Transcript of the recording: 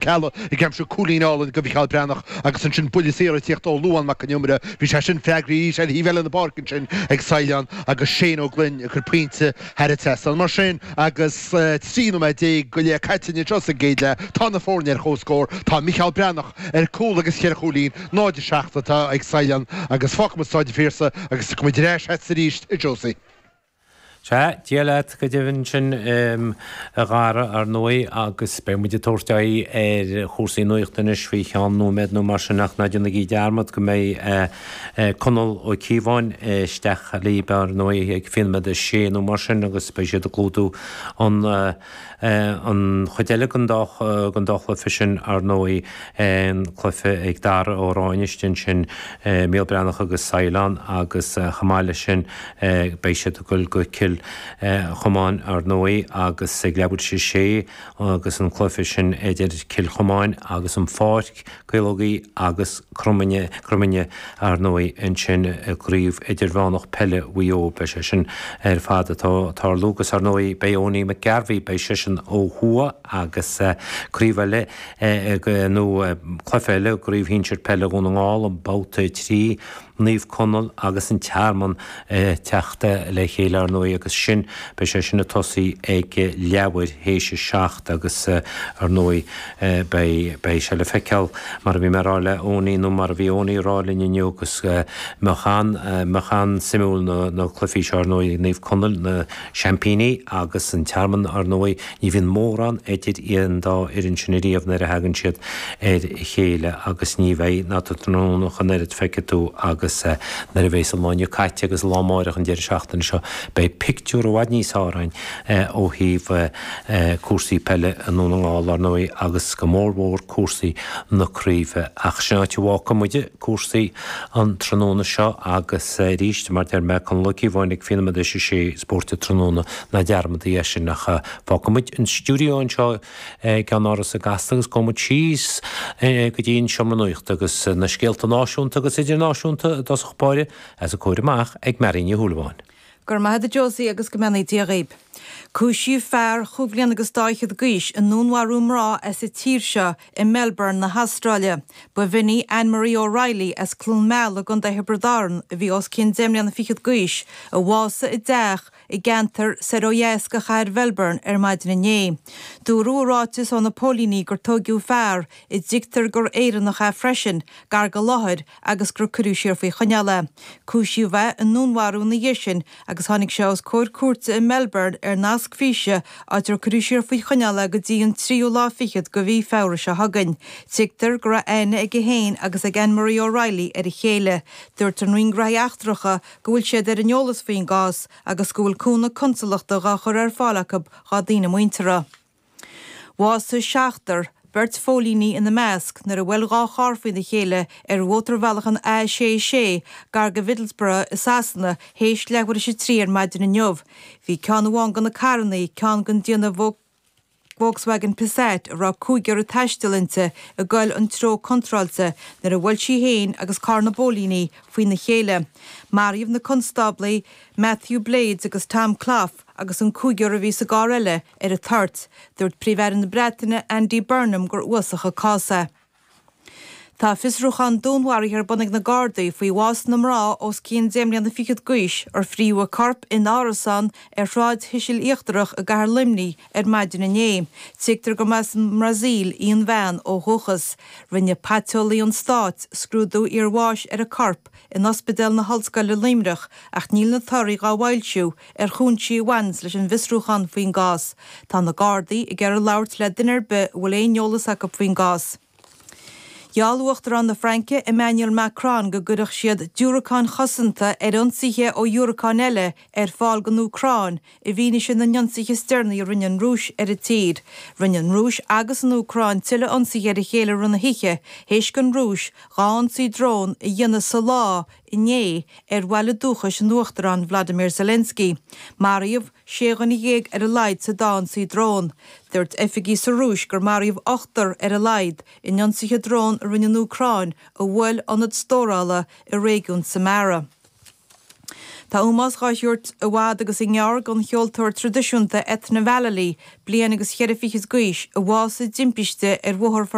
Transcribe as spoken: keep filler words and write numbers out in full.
Ceallaigh ag aimsiú cúilín álainn do Mhicheál Breathnach agus ansin buille saor ag tíocht ó Luan Mac an Iomaire. Bhí sé sin freagraithe arís ar thaobh eile na páirce ansin ag Saighleán agus Shane Ó Gloinn ag cur pointe thar an trasnán. Mar sin agus trí nóiméad déag go leith caite anseo sa gcéad leath, tá na foirne ar comhscór. Tá Micheál Breathnach ar cúl agus cheithre chúilín, náid a seacht atá ag Saighleán agus fágfaidh muid Stáid an Phiarsaigh agus tiocfaidh muid ar ais agat arís, a Josie. Sea, Dia leat go deimhin sin, a Dhara, ar ndóigh, agus beidh muid ag tabhairt aghaidh ar chúrsaí nuachta anois faoi cheann nóiméad nó mar sin ach ná déanaigí dearmad go mbeidh Conall Ó Cíobháin isteach libh, ar ndóigh, ag fiche nóiméad a sé nó mar sin agus beidh siad ag clúdú an An chuid eile den dá den dá chluiche sin, ar ndóigh, an cluiche ag Dara Ó Ráinne istigh ansin, Mícheál Breathnach agus Saighleán agus chomh maith leis sin beidh siad ag dul go Cill Chomáin, ar ndóigh, agus ag leathuair tar éis a sé agus an cluiche sin idir Cill Chomáin agus an Pháirc, Caológaí agus Cromaine, Cromaine, ar ndóigh, ansin i gCraobh Idirmheánach Peile Mhaigh Eo. Beidh sé sin ar fad ag tarlú agus, ar ndóigh, beidh Owenie McGarvey, beidh seisean ó thuaidh agus craobh eile nó cluiche eile i gCraobh Shinsir Peile Dhún na nGall, an Babhta a trí. Naomh Conaill agus an Tearmann ag teacht le chéile, ar ndóigh, agus sin, beidh sé sin ag tosaí ag leathuair théis a seacht agus, ar ndóigh, beidh, beidh sé le feiceáil, mar a bhí mé a rá le Owenie, nó mar a bhí Owenie a rá linn inniu, agus mbeadh an, mbeadh an-suimiúil na, na cluichí seo, ar ndóigh, Naomh Conaill, na seaimpíní, agus an Tearmann, ar ndóigh, ní bhíonn mórán idir an dá fhoireann sin ariamh nuair a thagann siad ar a chéile agus ní bheidh ná tráthnóna ach an oiread, feicfidh tú, agus nuair a bheas an lá inniu caite agus an lá amáireach an deireadh seachtaine seo, beidh pictiúr i bhfad níos fearr againn ó thaobh cúrsaí peile i nDún na nGall, ar ndóigh, agus go mór mhór cúrsaí na craoibhe. Ach sin áit a bhfágfaidh muide cúrsaí an tráthnóna seo agus arís, mar deir mé, Conall Ó Cíobháin ag fiche nóiméad théis a sé Spórt an Tráthnóna, ná dearmadaigí é sin ach fágfaidh muid an stiúideo anseo i gceannáras i gCasla agus gabhfaidh muid síos go dtí an seomra nuachta agus na scéalta náisiúnta agus idirnáisiúnta i dtosach báire os a comhair amach ag Mary Ní Shúilleabháin. Go raibh maith agat a Josie agus go mbeannaí Dia dhaoib. Cúisíodh fear chúig bhliana agus dá fhichead d'aois i ndúnmharú mná as an tír seo i Melbourne na hAstráile. Ba bh'in í Anne Marie O'Reilly as Cluain Meala i gContae Thiobraid Árann a bhí os cionn deich mbliana fichead d'aois, a bhásaigh i dteach i gceantar soir ó dheas de chathair Mhelbourne ar maidin inné. Dúradh i ráiteas ó na póilíní gur tóigeadh fear, a dtuigtear gur Éireannach é freisin, gar don láthair agus gur cuireadh siar faoi choinneáil é. Cúisíodh é i ndúnmharú ina dhiaidh sin agus tháinig sé os comhair cúirte i Melbourne ar nasc físe áit ar cuireadh siar faoi choinneáil é go dtí an tríú lá fichead de mhí Feabhra seo chugainn. Tuigtear go raibh aithne aige féin agus ag Anne Marie O'Reilly ar a chéile. Dúirt an Roinn Gnóthaí Eachtracha go bhfuil siad ar an eolas faoin gcás agus go bhfuil cúnamh consalachta dhá chur ar fáil acu dhá daoine muinteartha. Bhásaigh seachtar, beirt phóilíní ina measc, nuair a bhuail dhá charr faoina chéile ar mhótarbhealach an A sé sé gar do Mhiddlesbrough i Sasana théis leathuair théis a trí ar maidin inniu. Bhí ceann amháin de na carranna, ceann den déanamh Volkswagen Passat a raibh cúigear ag taisteal inti ag goil an treo contráilte nuair a bhuail sí féin agus carr na bpóilíní faoina chéile. Maraíodh na constáblaí Matthew Blades agus Tom Clough agus an cúigear a bhí sa gcarr eile ar an toirt. Dúirt Príomh-Aire na Breataine Andy Burnham gur uafásach an cás é. Tá fiosrúchán dúnmharaithe ar bun ag na Gardaí faoi bhás na mná os cionn deich mbliana fichead d'aois ar fríodh a corp in árasán ar Shráid Thuisil Íochtarach i gcathair Luimnigh ar maidin inné. Tuigtear go mba as an mBrasaíl í an bhean ó dhúchas. Rinne paiteolaí an stáit scrúdú iarbháis ar an corp in Ospidéal na hOllscoile Luimneach ach níl na torthaí dhá bhfoilsiú ar chúinsí a bhaineanns leis an bhfiosrúchán faoin gcás. Tá na Gardaí ag iarraidh labhairt le duine ar bith a bhfuil aon eolas acu faoin gcás. Gheall Uachtarán na Fraince Emmanuel Macron go gcuirfeadh siad diúracáin chosanta ar ionsaithe ó dhiúracáin eile ar fáil don Úcráin i bhfianaise na n-ionsaithe is deireanaí a rinne an Rúis ar an tír. Rinne an Rúis agus an Úcráin tuilleadh ionsaithe ar a chéile i rith na hoíche théis don Rúis dhá ionsaí drón a dhéanamh sa lá inné ar bhaile dúchais an Uachtaráin Vladimir Zelensky. Maraíodh sé dhuine dhéag ar a laghad sa dá ionsaí drón. Dúirt oifigigh sa Rúis gur maraíodh ochtar ar a laghad in ionsaithe drón a rinne an Úcráin a bhuail ionad stórála i réigiún Samara. Tá ómós á thabhairt i bhfad agus i ngearr don cheoltóir traidisiúnta Ethna Vallely, bliain agus cheithre fichid d'aois, a bhásaigh i dtimpiste ar bhóthar